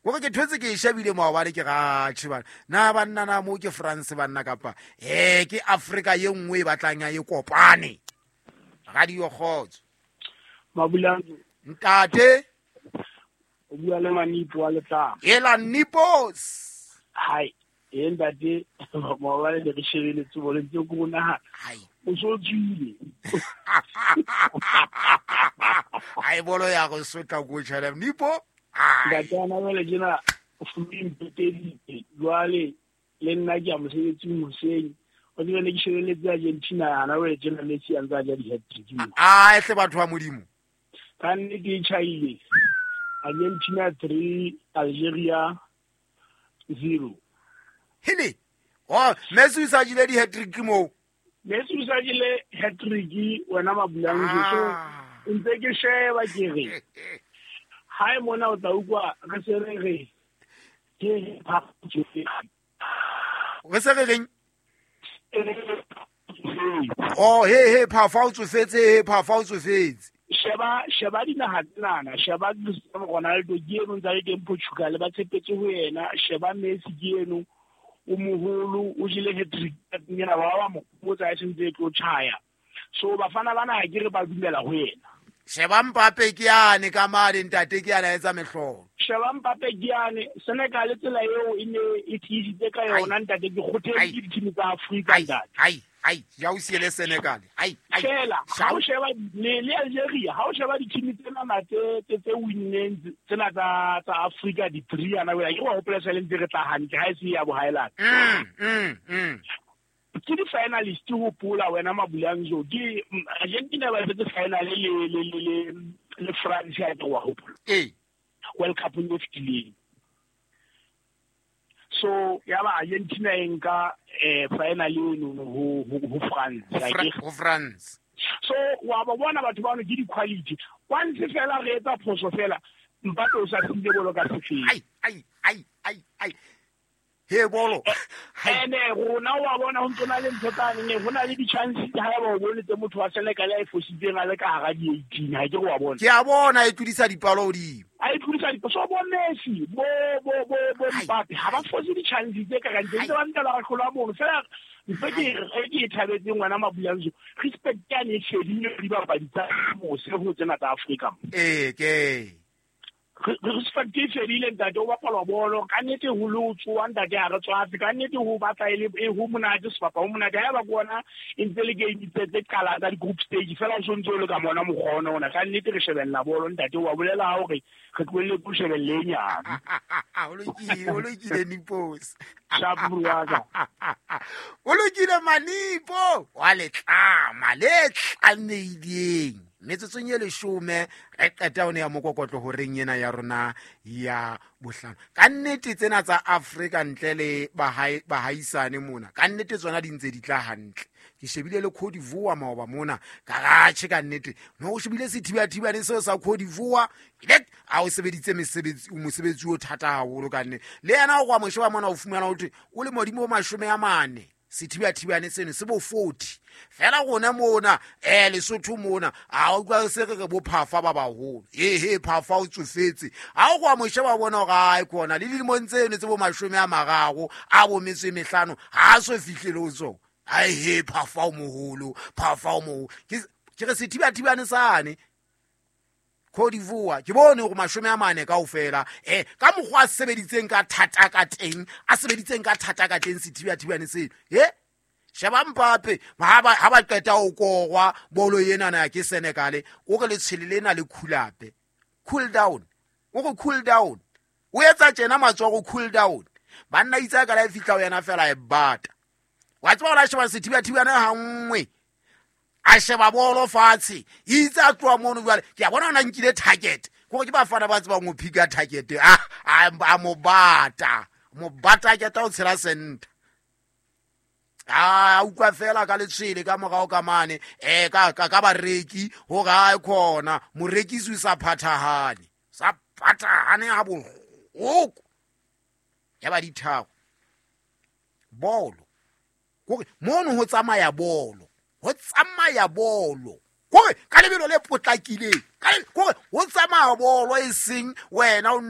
Kore ke thotse ke e shebile maobane ke ratšhe bana na banna na mo ke France banna kapa ke Afrika ye nngwe e batlang ya e kopane. Radio Kgotso. Mabulang. Ntate. O bua le Manipo wa Letlama. Ela Nipos. Hai, e ntate maobane ne re shebeletse bolo ntse ko nahana. Hai. O so tswile. Ai bolo ya go sotla ko tšhele Nipo. Ntate ana jwale tjena o fumane mpeteditse jwale le nna ke ya mosebetsing hoseng. O tsebe ne ke shebeletse Argentina hana jwale tjena Messi a ntse a ja di-hat-trick mo. A hle batho ba Modimo. Ka nnete e tjhaile. Argentina 3, Algeria 0. Hele. Oh, Messi o sa jele di-hat-trick moo. Messi o sa jele hat-trick wena Mabulang. So ntse ke sheba ke re. Hae mona o tla utlwa re se re re ke re se re reng? Oh, he phafa o tsofetse, he phafa o tsofetse. Sheba dinaha tsenana, sheba Cristiano Ronaldo ke eno ntse a le teng Portugal, ba tshepetse ho yena, sheba Messi ke eno o moholo, o jele hat-trick ena ba ba mo botsa e sentse e tlo tjhaya. So bafana bana ha ke re ba dumela ho yena. Sheba Mbappe ke yane ka mane ntate ke yana etsa mehlolo. Sheba Mbappe ke yane Senegal tsela eo e ne e tiisitse ka yona ntate ke kgothetse ke di-team tsa Afrika ntate. Ai ai ja o siele Senegal. Ai ai. Fela ha o sheba le Algeria, ha o sheba di-team tsena tse winneng tsena tsa Afrika di three ana wena ke wa hopola se le ntse re tla hantle ha e se ya bohaelana. Ke di-finalist hopola wena Mabulanzo ke Argentina ba fetse final le France ya ke wa hopola. World Cup e fetileng. So ya ba Argentina e nka final eno ho France. Ho France. So wa ba bona batho bano ke di-quality. Once fela re etsa phoso fela Mbappe o sa file bolo ka sefeng. Ai ai ai ai ai. He bolo. Ene rona wa bona ho ntse na le ntho tsane ne hona le di-chance ha ba o bone tse motho wa Senegal a e fositseng a le ka hara di-18 ha ke re wa bona. Ke a bona e tlodisa dipalo hodimo. A e tlodisa dipalo. So bo Messi, bo Mbappe ha ba fose di-chance tse ka kang tse ba ntela ba hlola mono. Fela ntho ke e thabetseng ngwana Mabulanzo, respect ya ne e fedile dibapadi tsa mose ho tsena tsa Afrika. Ke respect e fedile ntate o bapala bolo ka nnete ho le o tsoa ntate ha re tswafe ka nnete ho batla e le ho monate sebapa ho monate ha ba ke bona e ntse le game tse qala tsa di-group stage fela o sontse o le ka mona mokgwa ona ona ka nnete re shebella bolo ntate wa bolela hore re tlohelle ko shebelle e nyane. O lokile Nipos. Sharp bro wa ka. O lokile Manipo wa letlama le tlameileng. Metsotsong e leshome re qeta ho ya mokokotlo horeng ena ya rona ya bohlano. Ka nnete tsena tsa Afrika ntle le bahaisane mona, ka nnete tsona di ntse di tla hantle. Ke shebile le Cote d'Ivoire maoba mona, ka ratjhe ka nnete. No o shebile sethibathibane seo sa Cote d'Ivoire, ile a o sebeditse mosebetsi o thata haholo ka nnete. Le yena o kwa mosheba mona o fumana ho thwe o le modimo o 40. Sethibathibane seno se bo 40. Fela rona mona Lesotho mona a o utlwa se re re bo phafa ba baholo. He phafa o tsofetse. Ha o kwa mosheba bona hore ai kona le dilemong tseno tse bo 30 a bo metso e mehlano ha so fihlele ho tsona. Ai he phafa o moholo, phafa o moholo. Ke re sethibathibane sane Cote d'Ivoire ke bone hore 40 kaofela ka mokgwa a sebeditseng ka thata ka teng, a sebeditseng ka thata ka teng sethibathibane seno. Sheba Mbappe ha ba qeta ho korwa bolo ena na ke Senegal, o re letshwele lena le cool up. Cool down. O re cool down. O etsa tjena matsoho cool down. Banna itse ka la e fihla ho yena fela e bata. Wa tseba hore a sheba sethibathibane ha nngwe. A sheba bolo fatshe itse a tloha mono jwale ke a bona ona nkile target kore ke bafana ba tsebang ho phika target a mo bata ke tla o tshela center a utlwa fela ka letshwele ka morao ka mane ka bareki hore a khona morekisi o sa phathahane ha bohloko ya ba dithako bolo kore mono ho tsamaya bolo. Ho tsamaya bolo kore ka lebelo le potlakileng kore ho tsamaya bolo e seng wena o